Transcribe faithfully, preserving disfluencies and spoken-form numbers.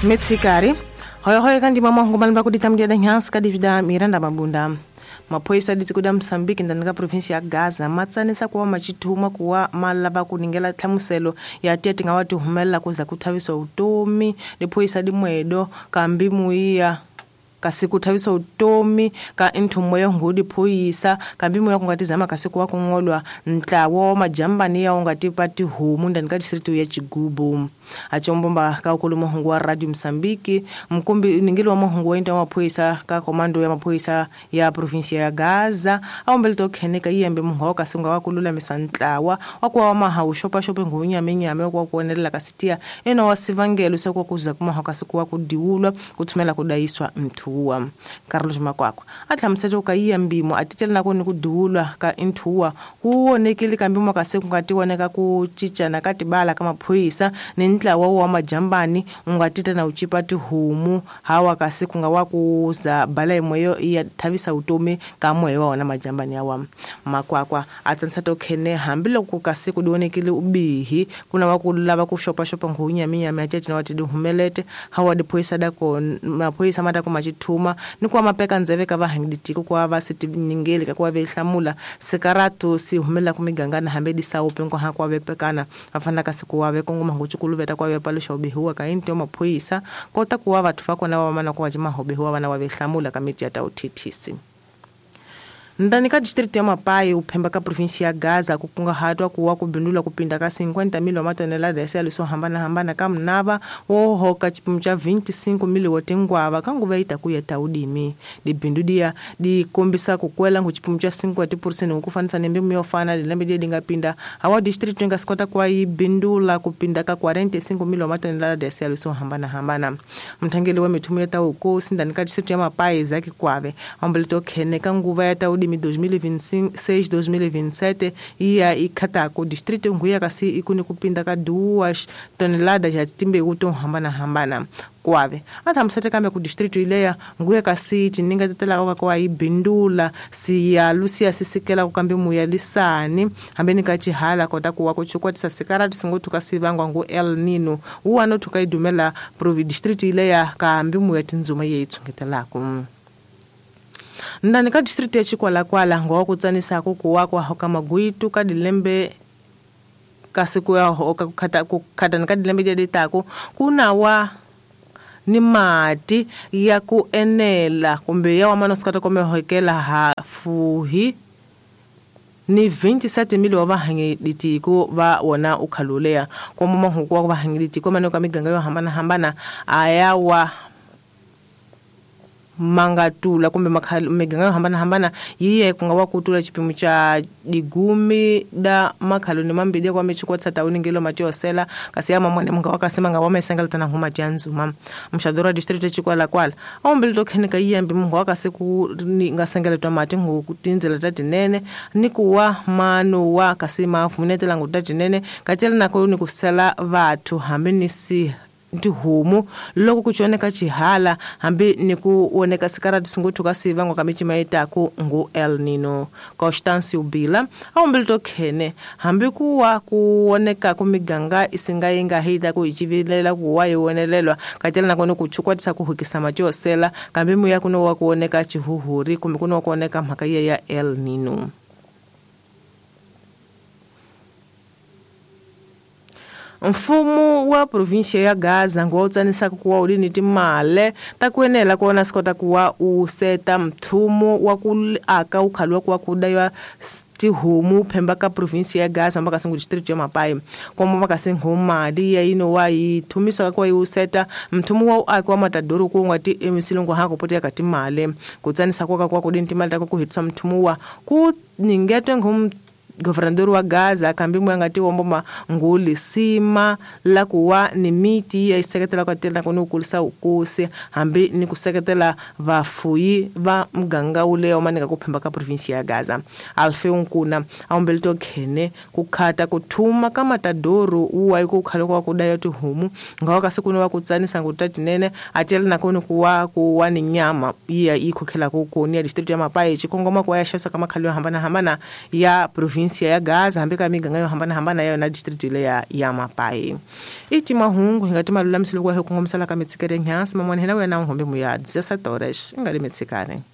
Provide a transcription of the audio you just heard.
Metsikari hoyohoyo kandi mama ngomba kudita mdia da nyansi kadivida Miranda Mabunda. Maphoyisa ditiko da Mozambique ndani ka province ya Gaza matsanisa kuwa machithuma kuwa malava kuningela hlamuselo ya tete nga wati humela kuza kuthavisa utomi liphoyisa dimwedo kambi muiya kasi kuthavisa utomi ka inthumo yo ngudi phoyisa kambi muya kungatizama kasi kuwa kungolwa ntlawo majambani ya ungati pati humu ndani ka district ya Chigubu. Achombomba ka ukulumo hungu wa Radio Mozambique mkumbi ningili wa mohungu wa inta maphoyisa ka komando ya maphoyisa ya province ya Gaza aombele to kheneka yembe mungu wa kasinga wa kulula misantlawa wa kwa maha ushopa shope ngunya minyame kwa kuonelela kasitia eno wasivangelo sekwa kuza kuma hakasikuwa kudiwulwa kuthumela kudayiswa mthu. Carlos Makwakwa atlamusete ka iya mbimo atitela nako ni kudiwulwa ka inthuwa kuonekile kambimo kase kungatiwoneka ku chichana katibala ka maphoyisa ni ntlawa wa majambani ungatita na uchipa tihumu hawa kasi kungawa kuza bala imweyo ya thavisa utomi ka moyo wa wona majambani yawa. Makwakwa atsanisa tokhene hambiloko kasi kudionekile ubihi kuna wakulava ku shopa shopa ngunyaminyami atete na wati dihumelete hawa diphoyisa dako maphoyisa mata ku machithuma ni kwa mapeka ndzeve ka vahangiditiko kwa vasiti nyingeli ka kwa vehlamula sikaratu si humela ku migangana hambe disaupe ngo ha kwa vepekana afana kasi kuwa vekongoma nguchukuluveta kwa vepalusha ubihuwa ka into maphoyisa kota kuwa vathu vakona va mana kwa mahobihuwa vana wa vehlamula ka miti ya tauthithisi. Ndani ka district ya Mapai uphemba ka province ya Gaza kukungahatwa kuwa kubindula kupinda ka cinquenta mil wa matonelada ya liso hambana hambana ka mnava wo hoka chipimo cha vinte e cinco mil wa tingwava kanguva ita kuya taudimi dibindudia dikombisa kukwela ngu chipimo cha cinquenta por cento kufanisa nembe yofana dilembe die dingapinda hawa district inga sikota kwa ibindula kupinda ka quarenta e cinco mil wa matonelada ya liso hambana hambana. Mthangeli wa mithumu ya taukosi ndani ka district ya Mapai zaki kwave ambelito khene kanguva ya taudimi dois mil e vinte e seis, dois mil e vinte e sete iya ikhatako distrito nguya kasi ikuni kupinda ka duas toneladas ya timbewu to hambana hambana kwave athamusete kambe ku distrito ileya nguya kasi tininga tetela kwa ibindula siya lusia sisikela kukambe muya lisani hambeni ka chihala kota kuwa kuchukwatisa sikarati singo tukasivangwa ngu El Nino uwano tukaidumela provi distrito ileya kambi muya tinzuma yeyitsongetelako. Ndani ka district ya Chikwalakwala ngo kutsanisa kukuwa kwa hoka maguitu ka dilembe kasiku ya hoka kukhata kukhata ka dilembe dia ditako kunawa ni mati ya ku enela kumbe ya wa mano sikata kome hokela ha fuhi ni vinte e sete mil wa vahangiditiko va wona ukhalulea kwa mama hukuwa vahangiditiko mano ka miganga yo hambana hambana ayawa mangatula kumbe miganga hambana hambana yiye kungawa kutula chipimo cha digumi da makhalo ni mambili kwa michukwa tsatauni ngelo matiosela kasi ya mamone munga wakasema nga wamesengela tana huma janzuma mshadora district Chikwalakwala ombili tokhenika yiyembe munga wakasiku ngasengela tomati ngokutinzela tatinene nikuwa mano wa kasima afumunetela ngutatinene katela nako ni kusela vathu hambi nisi tihumu loko kuchoneka chihala hambi nikuoneka sikarati singothuka sivangwa kamichima itaku ngu El Nino. Constance Ubila aombili tokhene hambi kuwa kuoneka kumiganga isinga inga hita kuichivilela kuwa iwonelelwa katela nakone kuchukwatisa kuhukisa machosela kambi muya kuno wa kuoneka chihuhuri kumbe kuno kuoneka mhaka ya El Nino. Mfumo wa província ya Gaza ngotsanisa kuwa ulini timale takuenela kuona sikota kuwa useta mthumo wa ku aka ukhalwa kuwa kudaywa tihumu phemba ka província ya Gaza mbaka singu district ya Mapai komo mbaka singu mali ya ino wa ithumisa kwa useta mthumo wa akwa matadoro ku ngati emisilongo hako potea katimale kutsanisa kwa kwa kudini timale tako kuhitsa mthumo wa ku ningetwe ngum governador wa Gaza kambi mwangati womboma nguli sima la kuwa ni miti ya iseketela kwa tela kono kulisa ukose hambi ni kuseketela vafuyi va mganga ule omanika kuphemba ka province ya Gaza. Alfeu Nkuna aombelito khene kukhata kuthuma ka matadoro uwa ikukhala kwa kudaya tihumu ngawa kasikuno wa kutsanisa ngutatinene atela nakono kuwa kuwa ni nyama iya ikhokhela kukoni ya district ya Mapai chikongoma kwa ya shasa kama khalo hambana hambana ya province provinsia ya Gaza hambi ka miganga yo hambanahambana ya yona district leya ya Mapai. I ti mahungu hi nga ti malulamiselo ku hi kongomisela ka mitshikere nyhansi man'wana hina wena hombe muya dezessete horas i nga ri mitshikane.